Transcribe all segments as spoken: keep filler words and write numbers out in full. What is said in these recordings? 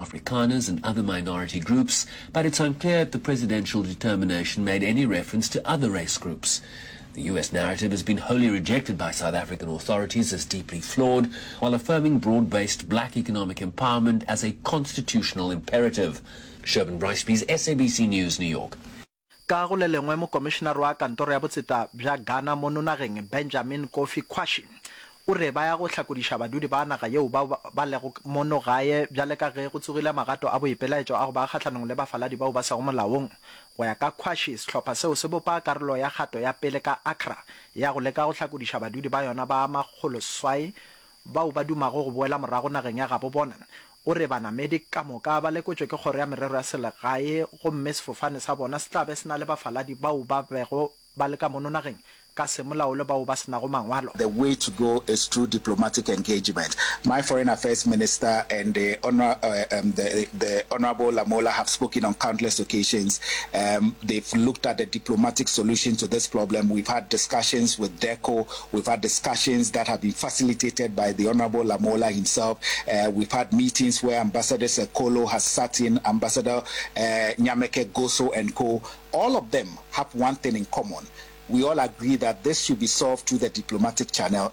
Afrikaners and other minority groups, but it's unclear if the presidential determination made any reference to other race groups. The U S narrative has been wholly rejected by South African authorities as deeply flawed, while affirming broad-based black economic empowerment as a constitutional imperative. Sherwin Bryce-Pease, S A B C News, New York. Ka go le lengwe, Mokomišenare wa Kantoro ya Botseta bja Ghana mono nageng, Benjamin Kofi Quashie, o re ba ya go hlakodiša badudi ba naga yeo bao ba lego mono gae bjale ka ge go tsogile magato a boipelaetšo a go ba kgahlanong le bafaladi bao ba sego molaong. Go ya ka Quashie, sehlopha seo se bopa karolo ya kgato ya pele ka Accra ya go leka go hlakodiša badudi ba yona ba makgoloseswai bao ba dumago go boela morago nageng ya gabo bona. O re banamedi ka moka ba lekotšwe ke Kgoro ya Merero ya Selegae gomme sefofane sa bona se tla be se na le bafaladi bao ba bego ba le ka mono nageng ka semolao le bao ba se nago mangwalo. The way to go is through diplomatic engagement. My Foreign Affairs Minister and the, honor, uh, um, the, the Honorable Lamola have spoken on countless occasions. Um, they've looked at the diplomatic solution to this problem. We've had discussions with DECO. We've had discussions that have been facilitated by the Honorable Lamola himself. Uh, we've had meetings where Ambassador Sekolo has sat in, Ambassador uh, Nyameke Goso and co. All of them have one thing in common. We all agree that this should be solved through the diplomatic channel.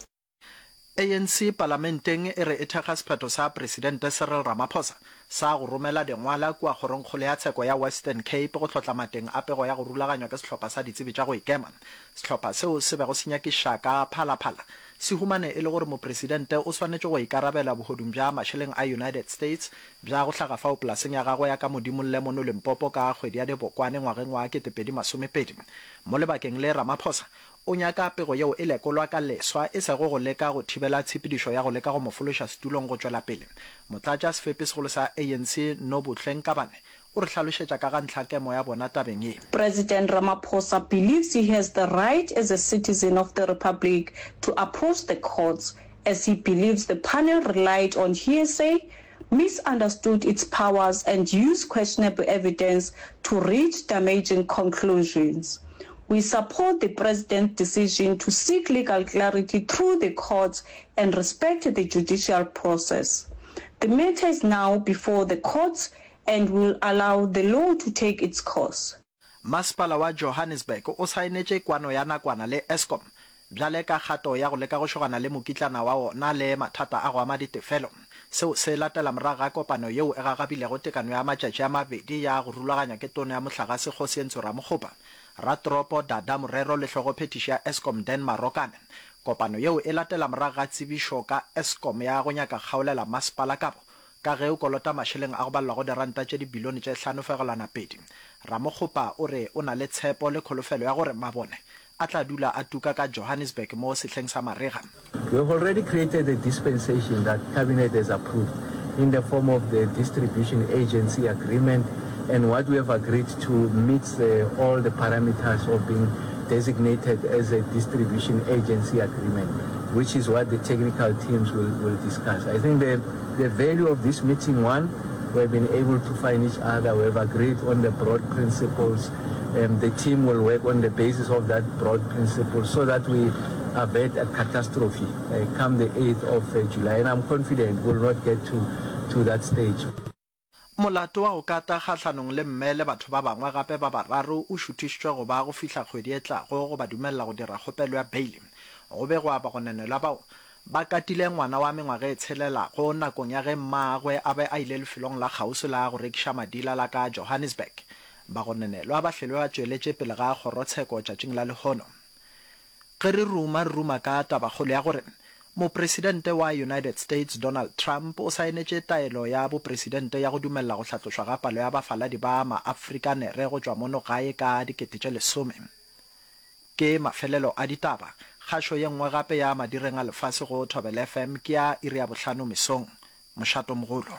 A N C palamenteng e re e thekga sephetho sa Presidente Cyril Ramaphosa sa go romela dingwala kua Kgorongkgolo ya Tsheko ya Western Cape go hlotla mateng a pego ya go rulaganywa ke sehlopha sa ditsebi tša go ikema. Sehlopha seo se bego se nyakišiša ka Phalaphala se humane e le gore mopresidente o swanetše go ikarabela bohodung bja mašeleng a United States bja go hlaga fao polaseng ya gagwe ya ka Modimolle mono Limpopo ka kgwedi ya Dibokwane ngwageng wa ketepedi masomepedi. Mo lebakeng le Ramaphosa o nyaka pego yeo e lekolwa ka leswa, e sego go leka go thibela tshepedišo ya go leka go mo fološa setulong go tšwela pele. Motlatša sefepi segolo sa A N C Nobuhle Nkabane o re hlalošetša ka ga ntlhakemo ya bona tabeng ye. President Ramaphosa believes he has the right as a citizen of the Republic to approach the courts, as he believes the panel relied on hearsay, misunderstood its powers and used questionable evidence to reach damaging conclusions. We support the president's decision to seek legal clarity through the courts and respect the judicial process. The matter is now before the courts and will allow the law to take its course. Masepala wa Johannesburg o saenetše kwano ya nakwana le Eskom bjale ka kgato ya go leka go šogana le mokitlana wa wona le mathata a go ama ditefelo. Seo se latela morago ga kopano yeo e gagabilego tekano ya matšatši a mabedi ya go rulaganywa ke Tona ya Mohlagase Kgosientsho Ramokgopa, Ratoropo Dada Morero le Hlogophethiši ya Eskom Dan Marokane. Kopano yeo e latela morago ga tsebišo ka Eskom ya go nyaka kgaolela masepala kabo ka ge o kolota mašeleng a go balelwa go diranta tše dibilione tše hlano fegelwana pedi. Ramokgopa o re o na le tshepo le kholofelo ya gore mabone a tla dula a tuka ka Johannesburg mo sehleng sa marega. We have already created a dispensation that Cabinet has approved in the form of the distribution agency agreement, and what we have agreed to meets uh, all the parameters of being designated as a distribution agency agreement, which is what the technical teams will, will discuss. I think the, the value of this meeting, one, we've been able to find each other, we've agreed on the broad principles. Um, the team will work on the basis of that broad principle so that we avert a catastrophe uh, come the eighth of uh, July. And I'm confident we'll not get to, to that stage. Molato wa go kata kgahlanong le mme le batho ba bangwe gape ba bararo o šuthišitšwe go ba go fihla kgwedi e tlago go ba dumelela go dira kgopelo ya beile. Go begwa bagononelwa bao ba katile ngwana wa mengwaga e tshelelago nakong ya ge mmagwe a be a ile lefelong la kgauswi la go rekiša madila la ka Johannesburg. Bagononelwa ba hlelwe ba tšweletše pele ga kgorotsheko tšatšing la lehono. Ge re ruma re ruma ka tabakgolo ya gore mopresidente wa United States Donald Trump o saenetše taelo ya bopresidente ya go dumelela go hlatlošwa ga palo ya bafaladi ba maAfrikanere go tšwa mono gae ka dikete tše lesome. Ke mafelelo a ditaba. Kgašo ye nngwe gape ya madireng a lefase go Thobela F M ke ya iri ya bohlano mesong. Mošato mogolo.